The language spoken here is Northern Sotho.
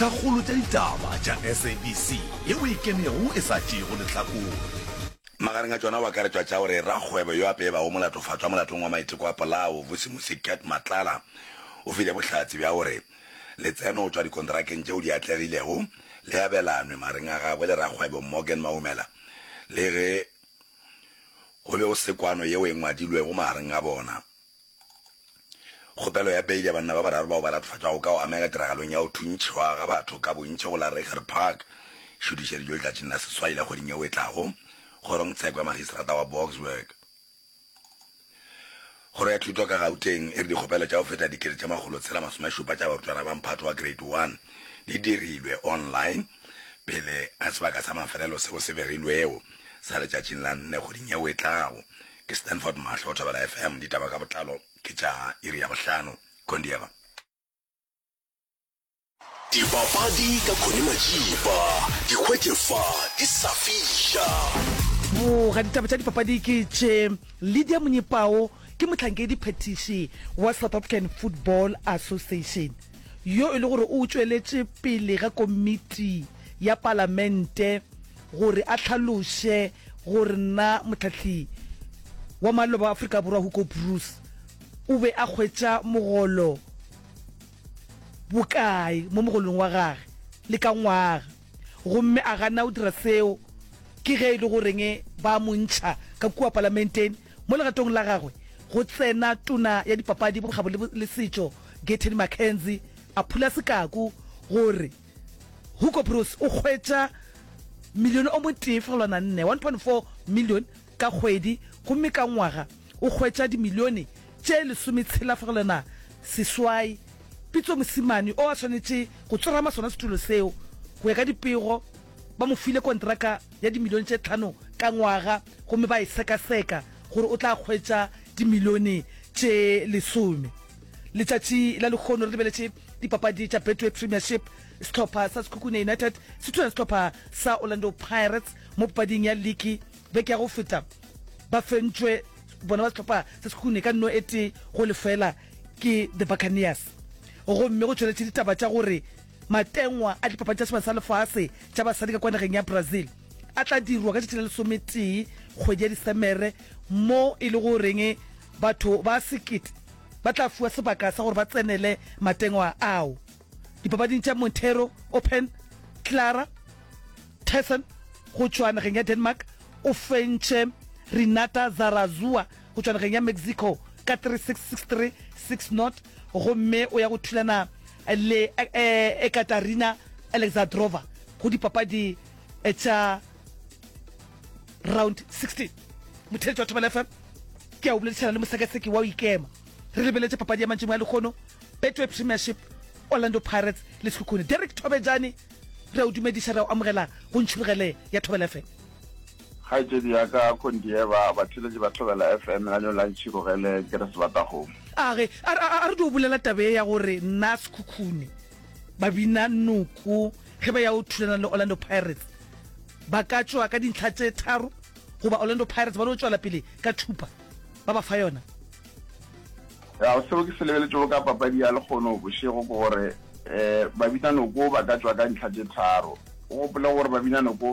Kgolo tša ditaba tša SABC yeo e kenego e sa tšeego lehlakore. Magareng a tšona go akaretšwa tša gore rakgwebo yo a peebago molatofatšwa molatong wa maiteko a polao, Vusimusi Cat Matlala, o file bohlatse bja gore letseno go tšwa dikonterakeng tšeo di atlegilego le abelanwe magareng a gagwe le rakgwebo Morgan Maumela le ge go be go se kwano yeo e ngwadilwego magareng ga bona. Kgopelo ya beile ya banna ba bararo bao ba latofatšwago ka go amega tiragalong ya go thuntšhwa ga batho ka bontši go la Reiger Park e šutišeditšwe letšatšing la seswai la kgweding yeo e tlago kgorongtsheko ya magistrata wa Boksburg. Kgoro ya Thuto ka Gauteng e re dikgopelo tša go feta 670 tša barutwana ba mphato wa Grade 1 di dirilwe online pele ga sebaka sa mafelelo seo se begilwego sa letšatšing la nne kgweding yeo e tlago. Ke Stanford Mahlo, Thobela FM, ditaba ka botlalo ke tša iri ya bohlano. Kondieva. Dipapadi ka Connie Majiba, di hwetše fa di sa fiša. Boga ditaba tša dipapadi ke tše, Lydia Monyepao ke mohlankedi phethiši wa South African Football Association yo e le gore o tšweletše pele ga komiti ya palamente gore a hlaloše gore na mohlahli wa maloba wa Afrika Borwa Hugo Broos o be a hwetša mogolo bokae mo mogolong wa gage le ka ngwaga, gomme a gana go dira seo, ke ge e le goreng ba mo ntšha ka kua palamenteng. Mo legatong la gagwe go tsena tona ya dipapadi, bokgabo le setšo Gayton McKenzie a phula sekaku gore Hugo Broos o hwetša milione o motee fegelwana nne, 1.4 million, ka kgwedi gomme ka ngwaga o hwetša dimilione tše lesometshela fegelwana seswai. Pitso Mosimane o a swanetše go tsorama sona setulo seo. Go ya ka dipego, ba mo file kontraka ya dimilione tše tlhano ka ngwaga gomme ba e sekaseka gore o tla hwetša dimilione tše lesome. Letšatši la lehono re lebeletše dipapadi tša Betway Premiership. Sehlopha sa Sekhukhune United se thulana sehlopha sa Orlando Pirates mo papading ya liki beke ya go feta. Ba fentšwe bona ba sehlopha sa Sekhukhune ka nno e tee go lefela ke The Buccaneers. Gomme go tšweletše ditaba tša gore matengwa a dipapadi tša Sebaka sa Lefase tša basadi ka kua nageng ya Brazil a tla dirwa ka tšatši la lesometee kgwedi ya Disemere mo e le goreng batho ba sekete ba tla fiwa sebaka sa gore ba tsenele matengwa ao. Dipapading tša Monteiro Open, Clara Thersen go tšwa nageng ya Denmark o fentše Renata Zarazua go tšwa nageng ya Mexico ka 3-6, 6-3, 6-0 gomme o ya go thulana le Ekaterina Alexandrova go dipapadi tša Round 16. Motheeletši wa Thobela FM ke a o boledišana le mosekaseki wa go ikema. Re lebeletše papadi ya mantšimo ya lehono, Betway Premiership, Orlando Pirates le Sekhukhune. Derrick Thobejane, re a o dumediša, re a o amogela go Ntšhurugele ya Thobela FM. Kgaetšedi ya ka Khondieva, batheeletši ba Thobela FM, lenaneo la Ntšhirogele ke re Sebatakgomo. A re, a, a, a re dio bolela taba ye ya gore nna Sekhukhune ba bina noko ge ba ya go thulana le Orlando Pirates, ba ka tšwa ka dintlha tše tharo goba Orlando Pirates ba no tšwela pele ka thupa ba ba fa yona. Ya, seo ke se lebeletšego ka papadi ya lekgono bošego ke gore um Babinanoko ba ka tšwa ka dintlha tše tharo. O gopole gore Babinanoko.